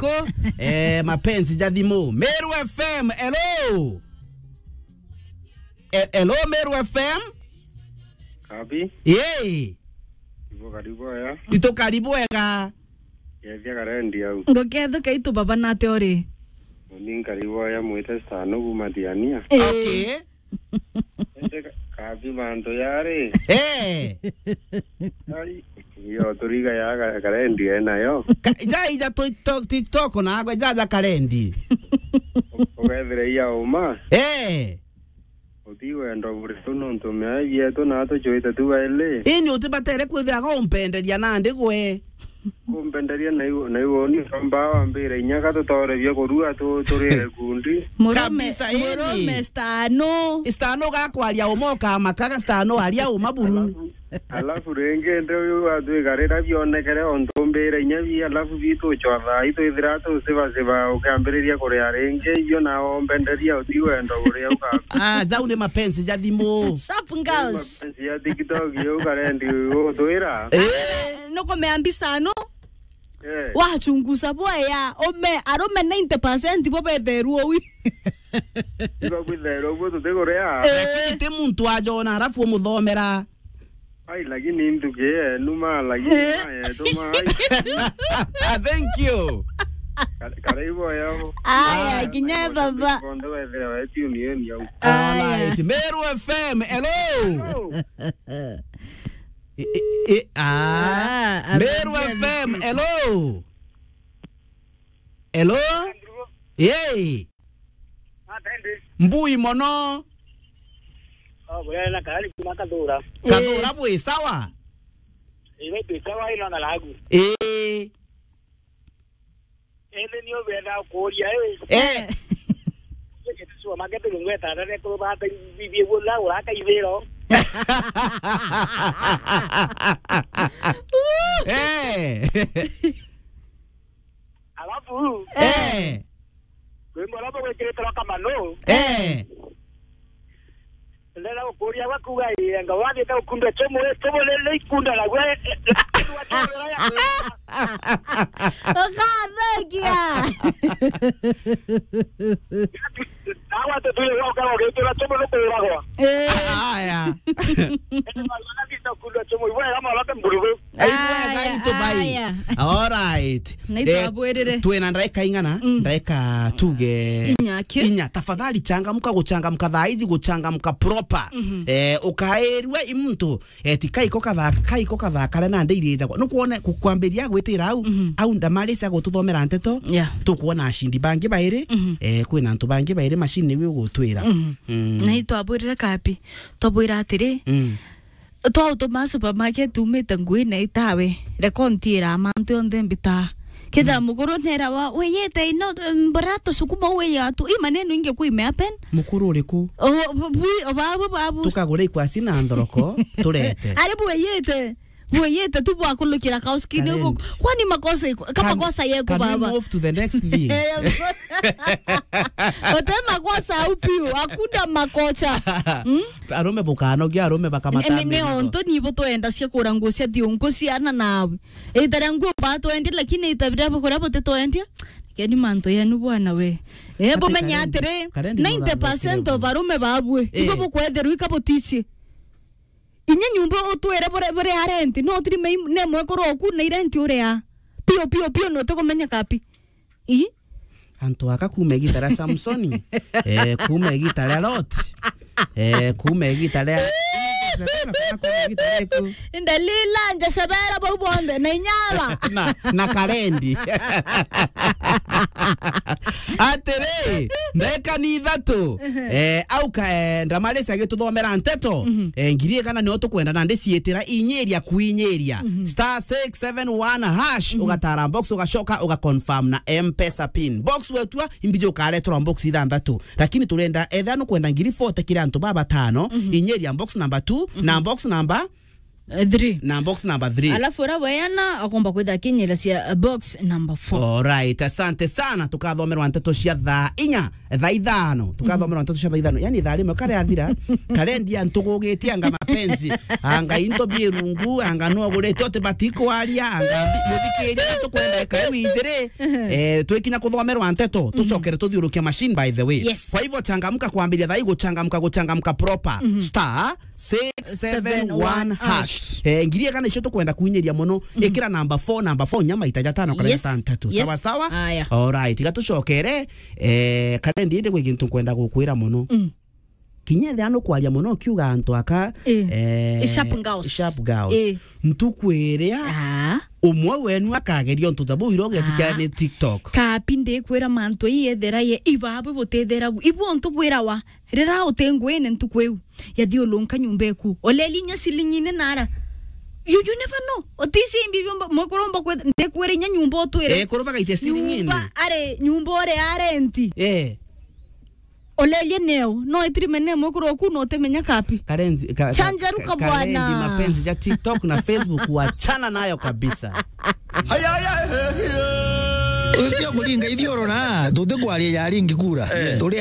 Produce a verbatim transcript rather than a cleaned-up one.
yako, eh, mapenzi ja thimu. Meru F M, hello. E-, hello, Meru F M. Kabi? Yee. Ibo karibu aya. Ito karibu ega. Yethia karendi au. Ngokethuka itu baba nate ori. Uni nkaribu aya mwite Stano kuma Thiania. Eh. Okay. Ende ka-, kabi mantu yari. Eh. Ai, iyo turiga ya ka-, karendi enayo. Ka-, ja ija TikTok, TikTok na agwe ja ja karendi. U-, ugethire iya uma. Eh. Uti wendo buriku nontu miai bietu na tucwite tu baili. Ini utibatere kwithira gumpenderia nandi gwe. Kumpenderia na iu, na iu ni kamba wambire inya ka tutore bia kurua tu-, turire kundi. Murume, kabisa, ini. Murume Stano. Stano gakwaria uma ukamakaga Stano aria uma buru. Alafu, alafu ringi ndi uyu atwikarira bionekere ontu mbire inya bi, alafu bituchwa thaa itu ithira tusiba siba ukiambiriria kuria ringi ibio na ombenderia uti wendo uria uka. Ah, zau ni mapenzi ja thimu. Sharp girls. Mapenzi ya TikTok yo karendi utwira. Eh. Nukumea mbisa no? Eh. Wachunguza bwega, ume, arume ninety percent bo betherwo wi. Iba bwitherwo bo tutiguria. Eh. Lakini ti muntu ajona, alafu umuthomera. Ai, lakini ntuki yenu ma, lakini eh, ma yetu ma, ai. Thank you. Ka-, karibu yao. Aya, ah, kinya baba. Kondo wethira wetu ni yeni au. Aya. Alright. Meru F M, hello. Hello. I, i, i, ah. Ah, Meru F M, hello. Hello? Yei. Mbui mono. Oh, bwena kari kuma Kathura. Kathura bwi sawa? Iwe twi sawa ino na lagu. Eh. Ende ni ubenda kuria, eh. Eh. Supermarket ngweta ndare kurubata bibie bula uraka ibiro. Eh. Alafu, eh, rwimbo rwa gwikirite rwa Kamano. Eh. Ndenda gukuria gwa kuuga ii, anga wathiite gukunda chumu, ii, chumu ni, ni ikunda naguo, ii, ii, ukathengia. Nawe ati tuire gwa ukara ugitura chumu ni kuuragwa. Eh. Aya. Indi mwana athiite gukunda chumu, ibwega mwana ati mburugu. Aya, aya. All right. Na itwabwirire. Eh, twina ndaika ing'ana? Mm. Ndaika tuge inya ki? Inya. Tafadhali changamka, guchangamka thaa ici, guchangamka proper. Mhm. Eh, ukairua i muntu, eh, ti kaiko kathaa, kaiko kathaa karia nandi irija. Nukwone ku-, kwambiria gwitira au, mhm, au ndamarisa gututhomera nteto. Yeah. Tukwona ashindi bangi bairi, mhm, eh, kwina antu bangi bairi machine niwe ugutwira. Mhm. Mm. Na itwabwirire kapi? Twabwira atiri, mm. Twautuma supermarket, umite ngui na itawe. Reka untiira mantu onthe mbita. Ketha, mm, mukuru nera wa, wiyite ino, mbura tusukuma wiya tu. I maneno ingi kwi me happen. Mukuru uriku? O, bu-, bu-, o, babu, babu. Tukagure ikwasi na nthoroko, turete. Ari bwiyite. Bwiyite tu bwakulukira kauskini ubu. Current. Kwani makosa iko-, ka makosa yeku baba? Can, can we move to the next thing? Ote makosa au piu, hakuna makosa. Hmm? Arume bukanogia, arume bakamata. Ni, ni, ni mirigo. Ontu ni bo twendacia kura nguo cia thiungu ciana nawe. Ita ria nguo batwendia, lakini ita biria bukura butitwendia. Keni mantu yenu bwana we. Eh, ati bumenye karendi, atiri, karendi ninety percent of arume babue. Eh. Ibo bukwethirwa ika butici. Inya nyumba utwire bure, bure ya rent, no tiri mei, ne mwekuru oku na irenti uria. Pio, pio, pio, no tukumenya kapi. Ii? Antu aka kuma igita ria Samsoni, eh, kuma igita ria Lot, eh, kuma igita ria, kuma igita ria ku. Ndalila, Jezebela, bau bonthe, na inyara. Na, na karendi. Atiri, ndeka ni ithatu, eh, au ka, eh, Ndamarisi agituthomera nteto, mhm, eh, ngiri igana nio tukwenda na ndiciitira inyiria kuinyiria. Mhm. Star six seven one hash, mhm, ugatara box, ugacoka, ugaconfirm na M-Pesa pin. Box wetua, imbiji ukareterwa box ithanthatu. Lakini turenda, etha nukwenda ngiri forty kiri antu baba batano, mhm, inyiria box number two, mhm, na box number eh, three. Na box number three. Alafu uria weana akomba kwitha akinyira cia, eh, box number four. Alright, asante sana. Tukathomerwa nteto cia thaa inya, eh, thaa ithano. Tukathomerwa nteto cia thaa ithano. Yani thaa rimwe kare athira, karendi antugugitie anga mapenzi, anga into bie rungu, anga no gurite uti batikwaria, anga muthikiria tukwenda kai winjire. Eh, twikinya kuthomerwa nteto, tucokere tuthiurukia machine, by the way. Yes. Kwa hivyo changamka kwambiria thaa hii, guchangamka, guchangamka proper. Star six seven one hash. Eh, ngiri igana icio tukwenda kuinyiria muno. Ikira number four, number four, nyama itaja tano kana yes, tantatu. Yes. Sawa, sawa? Aya. Alright, tiga tucokere, eh, karendi indi gwi gintu nkwenda gukwira muno. Kinya ethira nukwaria muno ukiuga antu aka, eh, sharp girls. Sharp girls. Eh. Ntuku iria umwe wenu akageria untu ta buu ira ugetikia ni TikTok. Kapi ndikwira mantu ii ethera ye ibabu butethera bu. Ibu untu bwirawa rira uti nguine ntuku iu. Yathiulunka nyumba iku. Oleli inya silingine nara. You, you never know. Otisi imbi biomba, mwakuromba kwe, ndikwira inya nyumba utwire. Eh, kurumba gaite silingine. Nyumba, are, nyumba ore arenti. Eh. Olelie neo, no itirime ne mwekuru oku no utimenya kapi. Karenzi, ka, ka, chanjaruka ka, bwana. Karendi mapenzi ja TikTok na Facebook wachana nayo kabisa. Ucio kuringa ithiurura, tutikwaria ya ringi kura. Eh. Turi